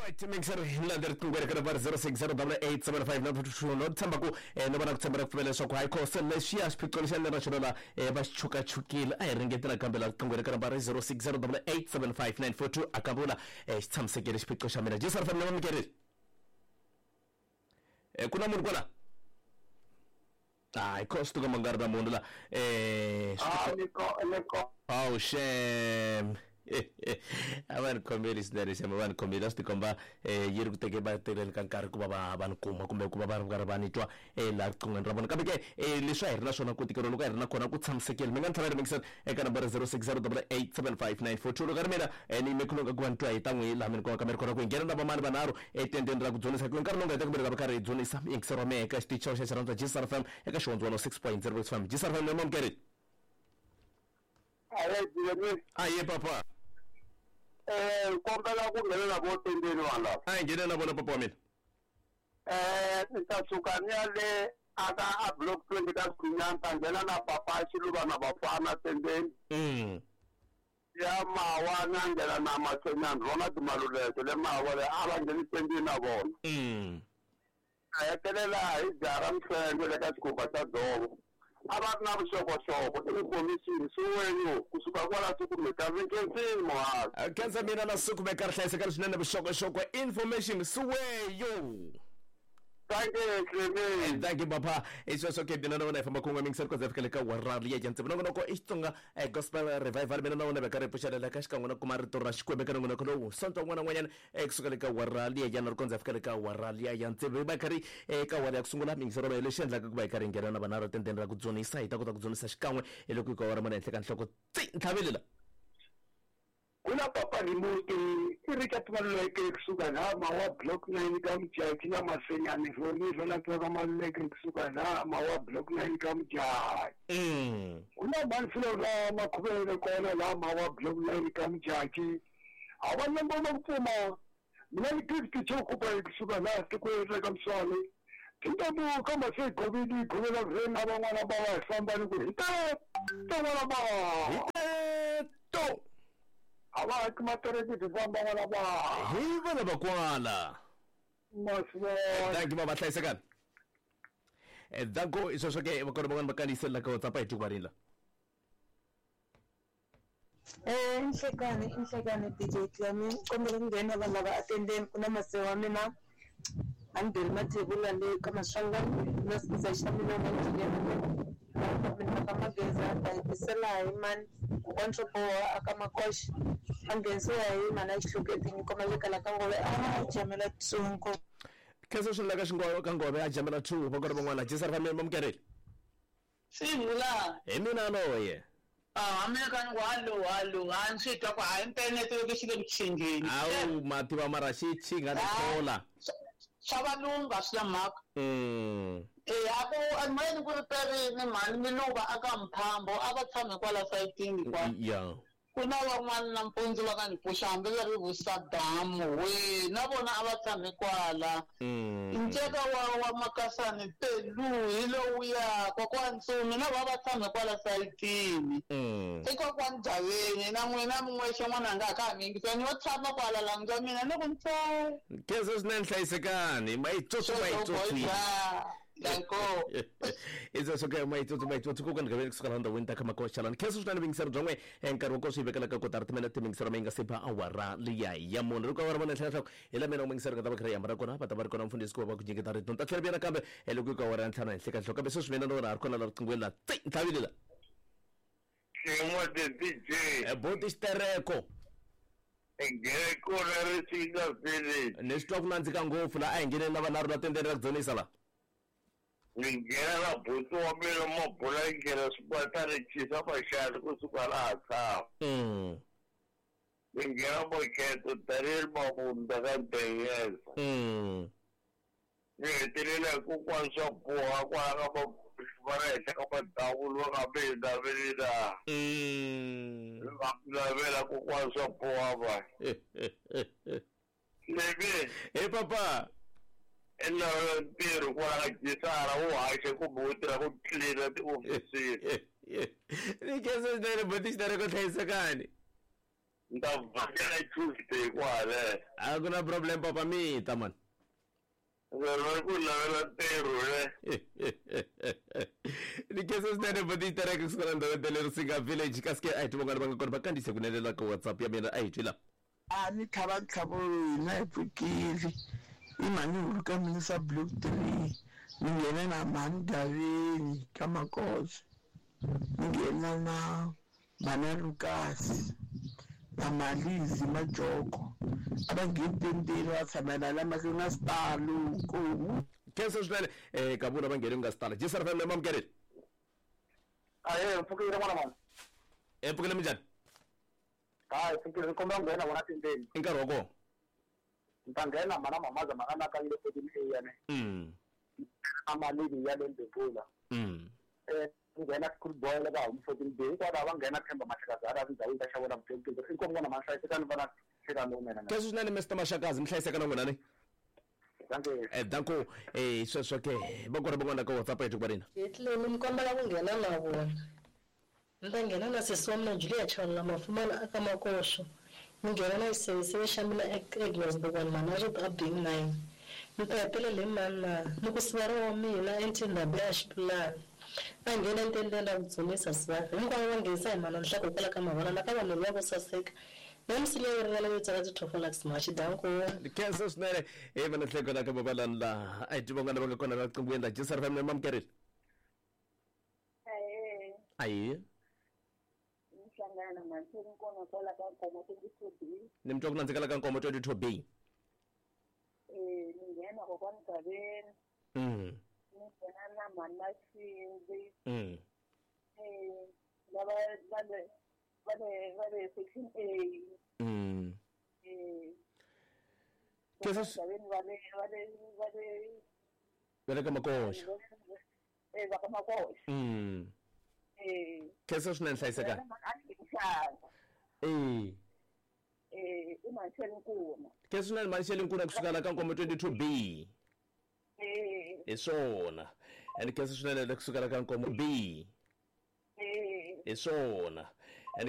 Right mixer hi riqingho ri ka 0608875922 no tshemba ku no va na ku tshemba ra ku pfumela leswaku hayi khoso lexiya xiphiqo lexi a ni ri na xona la va xi chukachukile. A hi ringetela kambe la riqingho ri ka nambara 0608875942 a kambe vula xi tshamisekile xiphiqo xa mina. Jesu ri fanele va mikerile ku na munhu kwala? Hayi khoso to ka ma nga ri na munhu la. Awu xem, a va ni khomeli swinene xem, a va ni khomeli. A swi tikomba yi ri ku teke va tekeleni ka nkarhi ku va va va ni kuma kumbe ku va va ri karhi va ni twa laha riqinghweni ra vona. Kambe ke leswi a hi ri na swona ku tikeriwa loko a hi ri na kona ku tshamisekile. Mi nga ni tlhela ri eka nambara 0608875942. Loko a ri mina ni yime khulunga ku va ni twa hi ta n'wi laha mi ni kumaka mi ri kona ku hi nghena na vamani vanharhu etendeni ra ku dzunisa, hikuva nkarhi lowu nga heta kumbe va karhi hi dzunisa yingisero wa mehe eka xitichi xa xirhandza Gsr FM eka xihondzo 106.0 FM. Gsr FM, ni Aye. Aye papa. Kombela ku nghenela vo tendeni vanhu lava. A hi nghene na vona, papa wa mina. Ni ta suka ni ya le aka a block 20 ka Swinyani, ta nghena na papa Xiluva na vafana tendeni. Ya Mawa na nghena na Masenyani, rona Timaluleke le Mawa le a va ngheni tendeni na vona. A hetelela hi jara Mhlengwe le ka xikhumba xa dzovo. A va ri na vuxokoxoko information suweyo kusuka kwala sukumeka vinkensini muhasi. Khensa mina na sukumeka ri hlayisekani swinene vuxokoxoko information suweyo. Thank you, Clement. Thank you, papa. I sweswo ke mina na wena hi famba kun'we mingiseri ku za fika le ka warali ya tsevu. Nongonoko i Xitsonga Gospel Revival. Mina na wena va karhi hi pfuxelela ka xikan'we na kuma rito ra Xikwembu eka nongonoko lowu sonto wun'wana na wun'wanyana kusuka le ka warali ya na ri kondza fika le ka warali ya tsevu. Hi va karhi eka wara ya ku sungula mingisero mehe lexi endlaka ku va hi karhi hi nghena na vanharhu tendeni ra ku dzunisa, hi ta kota ku dzunisa xikan'we hi loko hi ka wara mona henhla ka nhloko tsi ntlhaveli la. Kuna papa Rimuti i Richard Maluleke kusuka laha Mawa block 9 ka Mujaji na Masenyani Roni rona ka Maluleke kusuka laha Mawa block 9 ka Mujaji. Kuna Manfilo la Makhuvele kona laha Mawa block 9 ka Mujaji. A va na ngoma ku pfuma mina ni Gift Chokupa kusuka laha tikweni ra ka Mswale. Tintombo ka mase govili govela rena van'wana va va hi famba ni ku hi ta n'wana va. Hi to. A va haki matereki ti famba n'wana va. Hi vana va kwala. Masivona. Thank you baba, hlayisekani. Danko i sweswo ke va kona van'wana va kandziyisela ka WhatsApp hi tuku la. Inhlekani inhlekani DJ Clement, kombela ku nghena vanhu lava atendeni ku na mase wa mina a ni beli mathebula le ka Maswanganyi na siza xa mina na engineer mina ka Mageza ta hetisela hi mani kokwani swo boha aka Makoxa a nghenisiwa hi mhana Xihluketi nyiko maleka la ka Ngove a jamela tsongo. Khensa swilo la ka xingove ka Ngove a jamela 2 va kona van'wana Jesu ri fambe mamukerile. Sivula. Hi mina loye. Mina ka ni ku hallo hallo, a ni swi twa ku hayi internet xi le ku chingeni. Awu mativa mara xi chinga ni thola. Swa valungu a swi na mhaka. A ku ni ku ri perini mhani Miluva aka Mphambo a va tshame kwala sayitini kwa. Ya. Ku na van'wana nampundzu va nga ni pfuxa hambi va ri Vusadamu we na vona a va tshame kwala. Nceka wa Makasani Pelu hi lowuya kokwani Ntsumi na vona va tshame kwala sayitini. I kokwani Javeni na n'wina min'wexe n'wananga ka ha mi yingisela ni yo tshama kwala langwa mina ni ku ntsee. Khensa swinene hlayisekani mayitsotso mayitsotsi. Danko. I sweswo ke mayitsotso mayitsotsi kokwani Gaveni kusuka laha ndhawini ta ka Makoxalani. Khensa swinene vuyingiseri bya n'we nkarhi wa kona swi hi vekela ka kotara timinete mingisero mi nga se ba awara liya ya munhu ri ka awara vona henhla ka hi la mina mingisero nga ta va kha ri hambana kona va ta va ri kona mfundhisi ku va va ku nyiketa rito ni ta tlhela vuya nakambe loko yi ka awara ya ntlhanu henhla ka nhloko kambe sweswi mina na wena ha ri kona la riqinghweni la tsi ntlhavile la. Xin'we the DJ. Boti xitereko. Ngheko ra Risinga Village. Ni swi twa ku nandzika ngopfu la a hi ngheneni na vanharhu la tendeni ra ku dzunisa la. Ni nghena na buti wa mina mabula nghena swibatani chisa maxali kusuka laha tshama. Ni nghena Makheto Daniel Mabunda ka Ndeyeza. Ni hetelela hi kokwani swa boha kwala ka va ri henhla ka madavulu va nga mi naveli na. Va navela kokwani swa boha va. Lemi. Hey papa. I ntirho kwala ka Gisara wu haxe kumbe wu tirha ku tlilina tiofisini. Ni khensa swinene buti xitereko hlayisekani. Ni ta vhakela Tuesday kwale. A ku na problem papa mita man. Va ku lavela ntirho le. Ni khensa swinene buti tereke kusuka la ndhawu ya le Risinga village kasi ke a hi ti van'wana va nga kona va kandziyise kunene la ka WhatsApp ya mina a hi twi la. A ni tlhava ntlhavo hina hi pfukile i mhani hulu ka mina swa block 3 ni nghena na mhani Daveni ka Makoso ni nghena na mhana Lucas na Malizi Majoko a va ngheni tendeni va tshamela la mahlweni na sitalo nkomu. Khensa swinene ka vona va nghene ku nga sitala. Jesar FM mamukerile. Ahee, mpfukile n'wana mani. Mpfukile minjhani? Hayi, pfukile ni kombela ku nghena vona tendeni. I nkarhi wa kona. Ni ta nghena mhana mamaza mhana na ka yile 14A ya ne. A malini ya le Mbebula. Nghena school boy la ka home 14B hinkwavo va nghena Themba Mashakazi a tindhawini ta xavona vutomi inkomu n'wana mani hlayisekani vana hlekani lowunene. Khensa swinene Mr Mashakazi mi hlayiseka na n'wina ni. Danko sweswo ke va kona van'wana ka WhatsApp yethu ku Jetleni mi kombela ku nghena na vona. Ni ta nghena na sesi wa mina Julia Chaula Mafumana aka Makoxo. Ni nghena na xiseveseve xa mina Agnes Bokwana Manarito a Bing 9. Ni ta hetelela hi mani na ni ku sivara wa mina Entindambe a Xipulani. A nghena entendeni ra ku dzunisa sivara. Hinkwavo va nghenisa hi mana nhloko hikwalaho ka mavala na ka vanhu lava vo saseka. Na misinya yo ringana yo tsala ti-tofolax machi danko. Khensa swinene mana nhleko la ka mavalani laha a hi twi van'wana va nga kona la qinghweni la Jesar FM mamukerile. Ayi. Nhlangana mantheni kona kwala ka Nkomo 22B. Ni mi twa ku nandzika la ka Nkomo 22B. Ni nghena kokwani Gaveni. Ni nghena na mhani Maxindzi. Lava va le section A. Khensa Gaveni va le va le ka Makoxa. Va ka Makoxa. Khensa swinene hlayisekani. I Manxele Nkuna. Khensa swinene Manxele Nkuna kusuka la ka Nkomo 22B. Hi swona. And khensa swinene kusuka la ka Nkomo B. Hi swona.